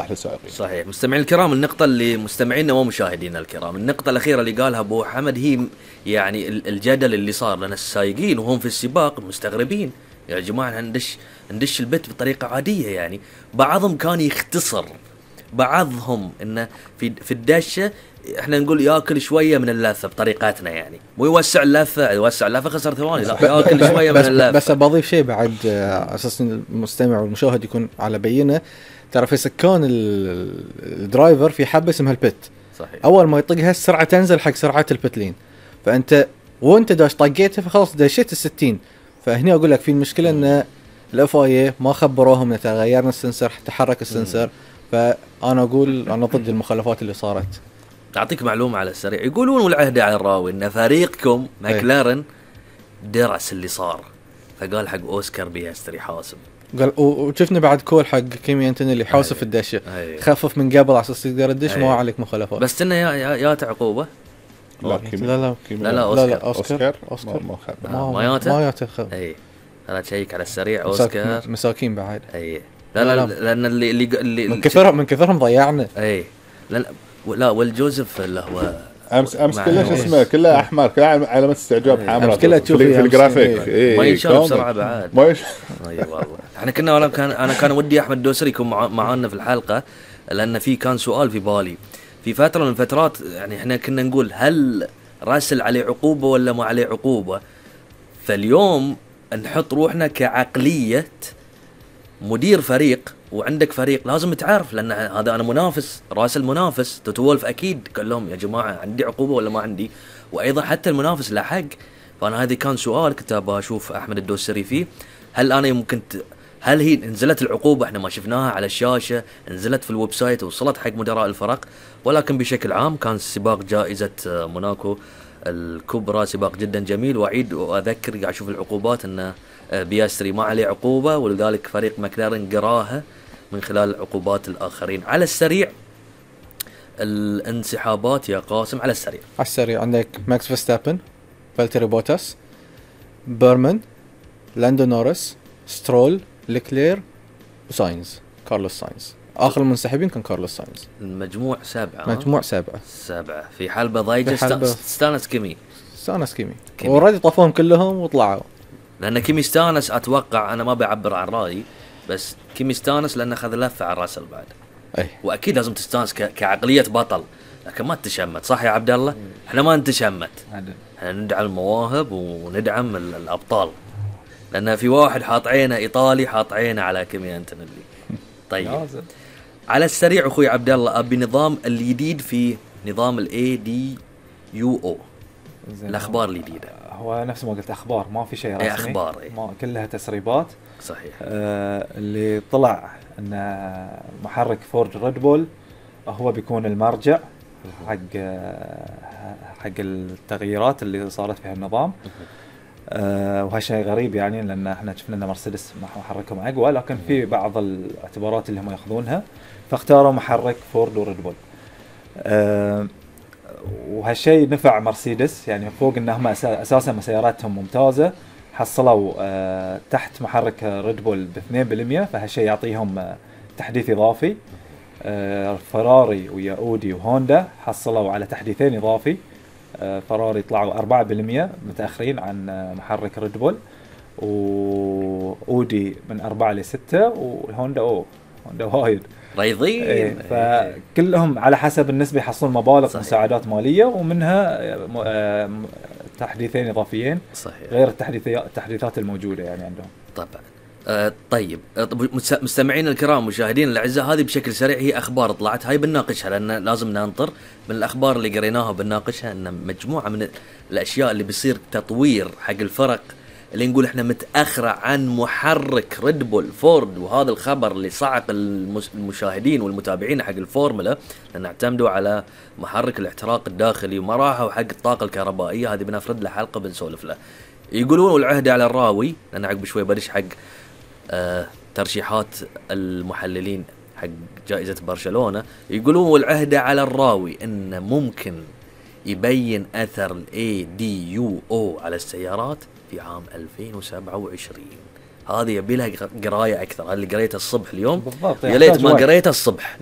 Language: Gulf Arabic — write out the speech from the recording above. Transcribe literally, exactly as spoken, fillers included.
للسائقين. صحيح. مستمعين الكرام، النقطة اللي مستمعينا ومشاهدينا الكرام، النقطة الأخيرة اللي قالها أبو حمد هي يعني الجدل اللي صار، لأن السائقين وهم في السباق مستغربين يا جماعة ندش ندش البت بطريقة عادية. يعني بعضهم كان يختصر، بعضهم إنه في في الدشة احنا نقول ياكل شويه من اللثه بطريقتنا، يعني مو يوسع اللثه يوسع اللثه خسر ثواني، لا ياكل شويه من اللثه. بس بضيف شيء بعد اساس المستمع والمشاهد يكون على بينه. ترى في سكان الدرايفر في حبه اسمها البت. صحيح. اول ما يطقها السرعه تنزل حق سرعات البتلين، فانت وانت داش طقيتها فخلاص دشيت الستين. فهنا اقول لك في المشكله ان الاف اي ما خبروهم ان تغيرنا السنسر تحرك السنسر. فانا اقول انا ضد المخالفات اللي صارت. أعطيك معلومة على السريع، يقولون والعهد على الراوي إن فريقكم ماكلارن درس اللي صار، فقال حق أوسكار بيستري حاسب. قال وشفنا بعد كول حق كيمي أنتوني اللي حاسف الدشة، خفف من قبل على أساس تقدر الدش ما عليك مخالفات. بس إنه يا يا, يا تعقوبة. لا لا لا لا لا أوسكار. لا أوسكار أوسكار ما ما ما ياته ما ياته. أي أنا تشيك على السريع أوسكار مساكين بعد. أي لا لا, لا, لا لأن اللي اللي, اللي من كثرهم من كثرهم ضيعنا. أي لا لا والجوزف اللي هو امس امس كله شو اسمه كله احمر، كله علامات استعجاب حمراء كله تشوف في الجرافيك. إيه ما يشوف بسرعه بعد ما يش اي والله. احنا كنا ولا كان انا كان ودي احمد الدوسري يكون معانا في الحلقه، لان في كان سؤال في بالي في فتره من الفترات. يعني احنا كنا نقول هل راسل عليه عقوبه ولا ما عليه عقوبه. فاليوم نحط روحنا كعقليه مدير فريق، وعندك فريق لازم تعرف، لأن هذا أنا منافس راس المنافس تتولف أكيد قال لهم يا جماعة عندي عقوبة ولا ما عندي، وأيضا حتى المنافس له حق. فأنا هذه كان سؤال كنت أبغى أشوف أحمد الدوسري فيه، هل أنا ممكن ت... هل هي نزلت العقوبة احنا ما شفناها على الشاشة، نزلت في الويب سايت وصلت حق مدراء الفرق، ولكن بشكل عام كان سباق جائزة موناكو الكبرى سباق جدا جميل. وأعيد وأذكر قاعد أشوف العقوبات أن بياستري ما عليه عقوبة، ولذلك فريق ماكلارن قراها من خلال عقوبات الآخرين. على السريع الانسحابات يا قاسم، على السريع على السريع عندك ماكس فيرستابن، فالتيري بوتاس، بيرمان، لاندو نورس، سترول، ليكلير وساينز، كارلوس ساينز. آخر المنسحبين كان كارلوس ساينز. المجموع سبعة. مجموع سبعة. سبعة في حلبة ضيجة استانس كيمي. استانس كيمي. ورادي طفوهم كلهم وطلعوا. لأن كيمي استانس أتوقع، أنا ما بعبر عن رأيي، بس كيمي استانس لأنه أخذ لفة على راسل بعد. أي. وأكيد لازم تستانس ك... كعقلية بطل، لكن ما تشمت. صح يا عبد الله؟ إحنا ما نتشمت. إحنا ندعم المواهب وندعم ال... الأبطال. لأن في واحد حاط عينه إيطالي حاط عينه على كيمي أنتونيلي. طيب. على السريع أخوي عبد الله، أبي نظام الجديد في نظام ال إيه دي يو أو. الأخبار الجديدة. هو نفس ما قلت أخبار، ما في شيء رسمي. أخبار إيه؟ ما كلها تسريبات. صحيح. آه اللي طلع أن محرك فورد ريد بول هو بيكون المرجع حق حق التغييرات اللي صارت في هالنظام. آه وهالشيء غريب يعني، لأن احنا شفنا أن مرسيدس محركهم أقوى، لكن في بعض الاعتبارات اللي هم يأخذونها فاختاروا محرك فورد وريد بول. آه وهالشيء نفع مرسيدس، يعني فوق انهم اساسا مسيراتهم ممتازه، حصلوا أه تحت محرك ريد بول باثنين بالمئة، فهالشيء يعطيهم أه تحديث اضافي. أه فراري ويا اودي وهوندا حصلوا على تحديثين اضافي. أه فراري طلعوا أربعة بالمئة متاخرين عن أه محرك ريد بول، واودي من أربعة لستة، والهوندا او هوندا وايد ريضين. إيه فكلهم على حسب النسبة يحصلون مبالغ صحيح. مساعدات مالية، ومنها تحديثين إضافيين صحيح. غير التحديثات التحديثات الموجودة يعني عندهم. طبعا. آه طيب مستمعين الكرام مشاهدين الأعزاء، هذه بشكل سريع هي أخبار طلعت، هاي بنناقشها لأن لازم ننطر من الأخبار اللي قريناها بنناقشها أن مجموعة من الأشياء اللي بيصير تطوير حق الفرق اللي نقول احنا متأخرة عن محرك ريد بول فورد. وهذا الخبر اللي صعق المشاهدين والمتابعين حق الفورمولا، لأن اعتمدوا على محرك الاحتراق الداخلي وما راحوا حق الطاقة الكهربائية. هذه بنفرد له حلقة بنسولف له. يقولون والعهد على الراوي، لأن عقب شوي بدش حق آه ترشيحات المحللين حق جائزة برشلونة. يقولون والعهد على الراوي إن ممكن يبين أثر ال إيه دي يو أو على السيارات في عام ألفين وسبعة وعشرين. هذه يبي لها قرايه اكثر، اللي قريتها الصبح اليوم بالضبط، يا ليت ما قريتها الصبح.